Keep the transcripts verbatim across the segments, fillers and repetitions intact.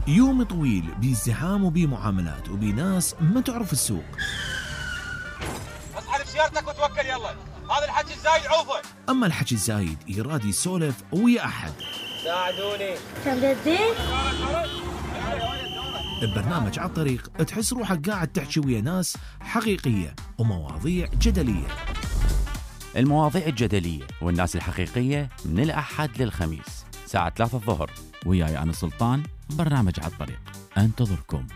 يوم طويل بازدحام وبمعاملات وبناس ما تعرف السوق. اسحب سيارتك وتوكل يلا، هذا الحكي الزايد عوفه. اما الحكي الزايد يراد يسولف ويا احد. ساعدوني. كم الزيت؟ ببرنامج على الطريق تحس روحك قاعد تحكي ويا ناس حقيقية ومواضيع جدلية. المواضيع الجدلية والناس الحقيقية من الأحد للخميس ساعة ثلاثة الظهر، وياي أنا سلطان. برنامج على الطريق أنتظركم،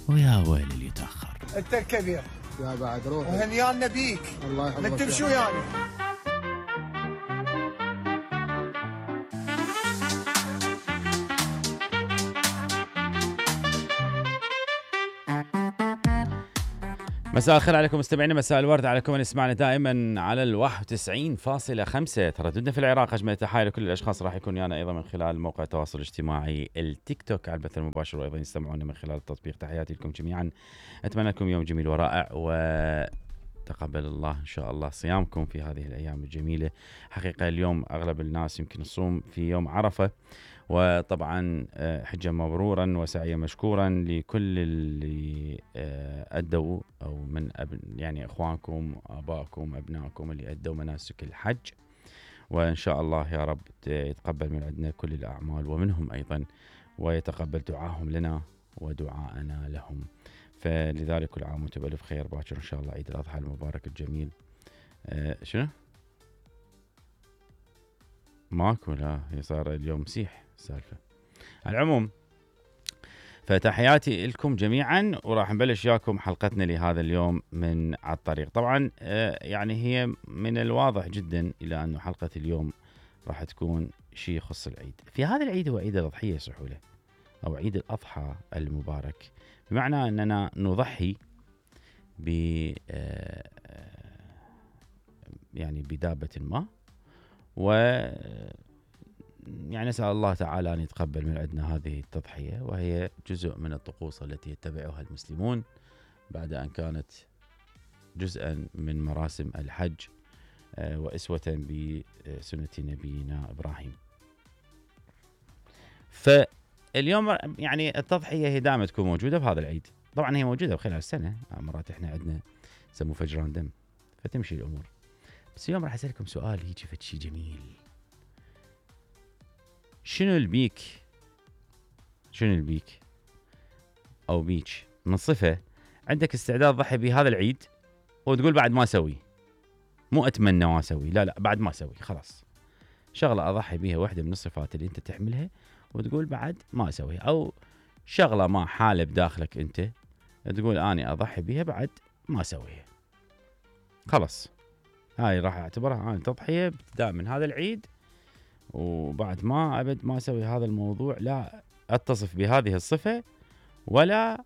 ويا ويل اللي يتأخر. أنت الكبير يا بعد روحي وهنيانا بيك. الله يحفظك. من تمشوا يعني. مساء الخير عليكم مستمعينا، مساء الورد عليكم من يسمعنا دائما على الواحد وتسعين فاصلة خمسة ترددنا في العراق. اجمل تحايا لكل الاشخاص راح يكون يانا ايضا من خلال موقع التواصل الاجتماعي التيك توك على البث المباشر، وايضا يستمعونا من خلال التطبيق. تحياتي لكم جميعا، اتمنى لكم يوم جميل ورائع، وتقبل الله ان شاء الله صيامكم في هذه الايام الجميله. حقيقه اليوم اغلب الناس يمكن يصوم في يوم عرفه، وطبعا حجة مبرورا وسعيا مشكورا لكل اللي أدوا أو من أب يعني إخوانكم آبائكم أبنائكم اللي أدوا مناسك الحج، وإن شاء الله يا رب يتقبل من عندنا كل الأعمال ومنهم أيضا، ويتقبل دعاهم لنا ودعاءنا لهم. فلذلك كل عام وانتم بألف خير. باكر إن شاء الله عيد الأضحى المبارك الجميل. أه شنو؟ ماكو، لا هي صار اليوم مسيح السالفة. على العموم فتحياتي لكم جميعا، وراح نبلش وياكم حلقتنا لهذا اليوم من على الطريق. طبعا يعني هي من الواضح جدا إلى أنه حلقة اليوم راح تكون شيء يخص العيد. في هذا العيد هو عيد الأضحية سحولة، أو عيد الأضحى المبارك، بمعنى أننا نضحي ب يعني بدابة ما، و يعني نسأل الله تعالى أن يتقبل من عندنا هذه التضحية، وهي جزء من الطقوس التي يتبعها المسلمون بعد أن كانت جزءا من مراسم الحج وأسوة بسنة نبينا إبراهيم. فاليوم يعني التضحية هي دائما تكون موجودة بهذا العيد. طبعا هي موجودة خلال السنة، مرات احنا عندنا يسموه فجران دم، فتمشي الأمور. بس اليوم راح أسألكم سؤال هيجي فد شي جميل. شنو البيك شنو البيك أو بيك من صفة عندك استعداد ضحي بهذا العيد وتقول بعد ما أسوي، مو أتمنى ما أسوي، لا لا بعد ما أسوي خلاص، شغلة أضحي بيها واحدة من الصفات اللي أنت تحملها وتقول بعد ما أسويها، أو شغلة ما حالة بداخلك أنت تقول أنا أضحي بيها بعد ما أسويها، خلاص هاي راح اعتبرها أنا تضحية ابتداء من هذا العيد، وبعد ما أبد ما أسوي هذا الموضوع، لا أتصف بهذه الصفة ولا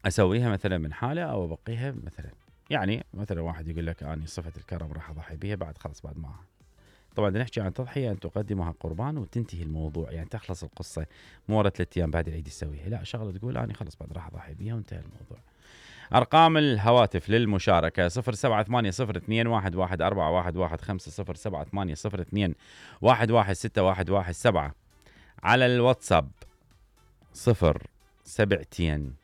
أسويها مثلا من حالة أو أبقيها مثلا. يعني مثلا واحد يقول لك أنا صفة الكرم راح أضحي بها بعد خلص بعد ما. طبعا نحكي عن تضحية أن تقدمها قربان وتنتهي الموضوع، يعني تخلص القصة مو ورا ثلاث أيام بعد العيد تسويها، لا شغلة تقول أنا خلص بعد راح أضحي بها وانتهى الموضوع. أرقام الهواتف للمشاركة صفر سبعة ثمانية صفر اثنين واحد واحد أربعة واحد واحد خمسة صفر سبعة ثمانية صفر اثنين واحد واحد ستة واحد واحد سبعة. على الواتساب صفر سبعتين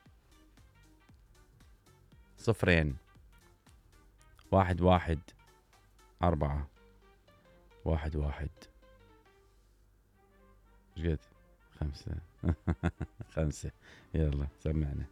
صفرين واحد واحد أربعة واحد واحد جد خمسة خمسة. يلا سمعنا.